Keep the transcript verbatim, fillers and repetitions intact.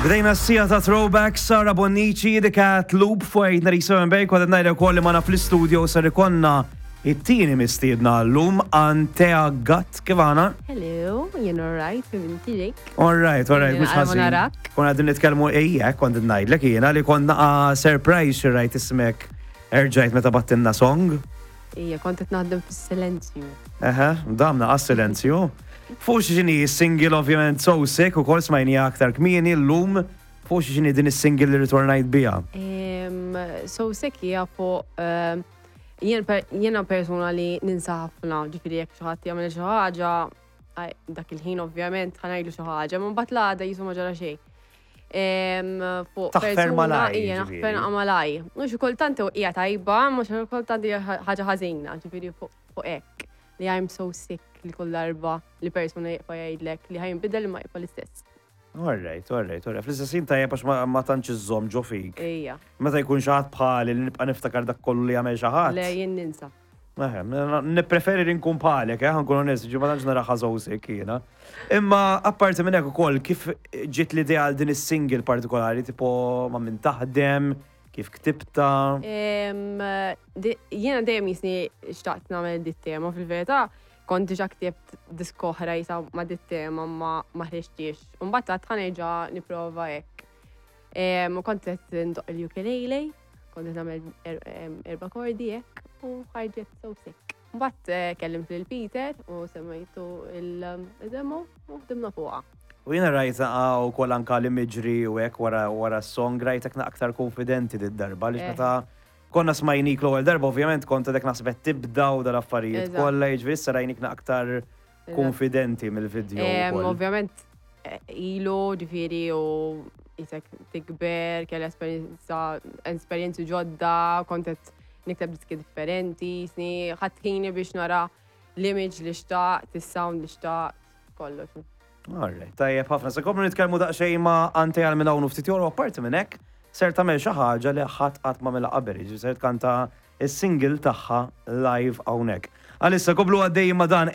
Bdejna s-siegħa ta' Throwback, Sara Bonnici, The Cat Loop fuq eight ninety-seven Bay, kont ngħidlek ukoll li magħna fl-studio ser ikollna it-tieni mistiedna llum, Antea Gatt, kif aħna? Hello, jien alright, inti dik. All right, all right, mhux Jien ħażin. narak. Konna qegħdin nitkellmu ejja, kont ngħidlek jiena li konna surprise xi rajt ismek erġajt meta bgħattilna song. Ija, kont qed naħdem fis-silenzju. Eħe, damna għas-silenzju. Fuq x'inhi single ovvjament So Sick u kol smajni aktar kmieni llum, fuq x'inhi din is-single li ritornajt biha? Em, So Sick hija fuq em, jien per- jiena persuna li ninsa ħafna, ġifieri jekk xi ħadd jagħmel xi ħaġa, aj, dak il-ħin ovvjament ħa ngħidlu xi ħaġa, ma mbagħad l-għada qisu ma ġara xejn. Em, Fuq Taħfer persuna- malaj, Ija, ġifieri. naħfer malaj. Mhux kultant hija tajba, mhux kultant hija ħaġa ħażina, ġifieri fuq fuq hekk li I'm so sick li kull darba li persuna jibqa' jgħidlek li ħa jinbidel ma jibqa' l-istess. All right, all right, all right. Fl-istess ħin tajjeb għax ma- ma tantx iżżomm ġo fik. Ija, Meta jkun xi ħadd bħali li nibqa' niftakar dak kollu li jagħmel xi ħadd. Le, jien ninsa. Eħe, nippreferi li nkun bħalek, eh, nkun onest, ġi ma tantx nara so sick jiena. Imma apparti minn hekk ukoll, kif ġiet l-idea għal din is-single partikolari, tipo ma' min taħdem, kif ktibta? Em, di- Jiena dejjem jisni xtaqt nagħmel dit tema. Fil-verità, kont diġà ktibt diska oħra jisa ma dit tema ma ma ħriġtix. U mbagħad għedt ħa nerġa' nipprova hekk. Em, U kont qed ndoqq il-ukulele, kont qed nagħmel er- em, erba' kordi hekk u ħarġet So Sick. Mbagħad eh, kellimt lil Peter u semmajtu il-demo u ħdimna fuqha. U jiena rajta u kol anka li miġri u hekk wara wara s-song rajtek aktar konfidenti dit-darba li Eh. meta konna smajnik l-ewwel darba ovvjament kont għadek naħseb qed tibda u dal-affarijiet Eżatt. kollha, jiġifieri issa rajnik aktar konfidenti mill-video Em, ukoll. Ovvjament, eh, ilu, ġifieri, u jisek tikber, kelli esperienza, esperienzi ġodda, kont qed nikteb diski differenti, sni, ħadt ħini biex nara l-image li xtaqt, il-sound li xtaqt, kollox. Alright, tajjeb ħafna. Se nkomplu nitkellmu daqsxejn ma' Antea għal minn hawn u ftit ieħor u apparti minn hekk ser tagħmel xi ħaġa li ħadd qatt ma għamilha qabel, jiġifieri ser tkanta is-single tagħha live hawnhekk. Għalissa komplu għaddej ma' dan.